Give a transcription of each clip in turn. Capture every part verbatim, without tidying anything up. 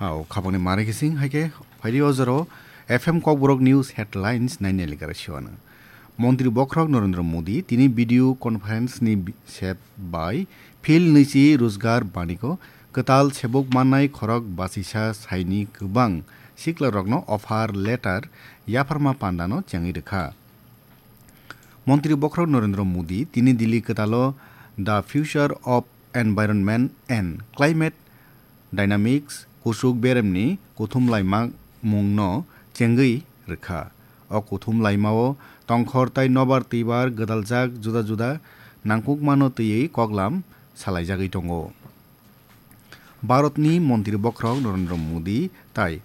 Au, khapangni mari kising hai khe phaidi o jora F M Kokborok News Headlines nainai likara siwano. Montri Bokhorok Narendra Modi tini video conference ni bi-, sep bai Phil Nwichi Rojgar Baniko kwtal sebuk mannai khorok basisa saini kwbang siklarokno offer letter yapharma pandano chengwi rwkha. Montri Bokhorok Narendra Modi tini Delhi kwtalo The Future of Environment and Climate Dynamics kusuk beremni kuthum laima mungno chengwi rwkha. O kuthum laimao tongkhor tai nobar twibar gwdaljak juda juda nangkukmano twiwi koklam salaijagwi tongo. Bharatni Montri Bokhorok Narendra Modi tai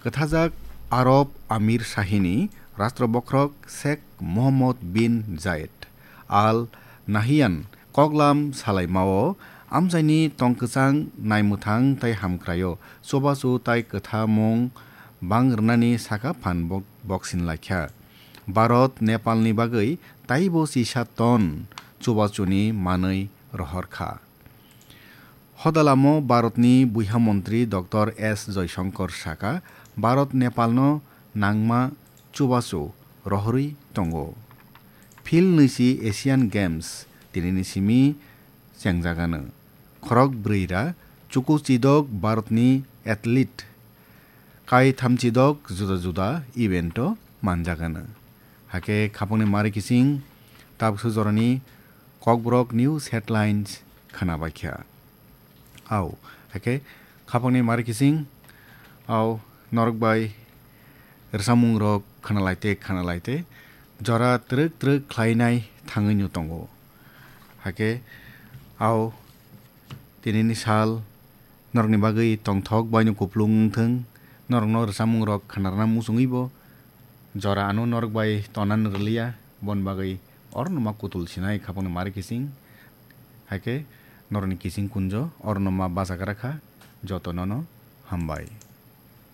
kwthajak Arab Amir Shahini Rashtra Bokhorok Sheikh Mohammed bin Zayed Al Nahyan koklam salaimao amchaini tongkwchang naimwthang tai hamkraio chubachu tai kwthamung bang rwnani saka phan bok-, boksin laikha. Bharat Nepalni bagwi taibo chisa ton chubachuni manwi rohor kha. Hodalamo Bharatni buiha montri Doctor S Jaishankar saka, Bharat Nepalno nangma chubachu rohorwi tongo. Phil Nwichi Asian Games tinini simi chengjagano. Khorok bwrwi ra chuku chidok Bharatni athlete kai thamchidok juda juda evento manjagano. Hakhe khapangni mari kising tabukso jorani Kokborok News Headlines khwnabaikha. Au, hakhe khapangni mari kising, au, norok bai rwchapmungrok khwnalaite, khwnalaite, jora twrwk twrwk khlainai thangwino tongo. Hakhe, au, tinini sal norokni bagwi tongthok baino kuplung wngthwng, norokno rwchapmungrok khwnarwna muchungwibo jora ano norok bai tonani rwliya, boni bagwi orono ma kutul sinai khapangni mari kising, hakhe norokni kising kunjo orono ma bachagra kha, jotonono hambai.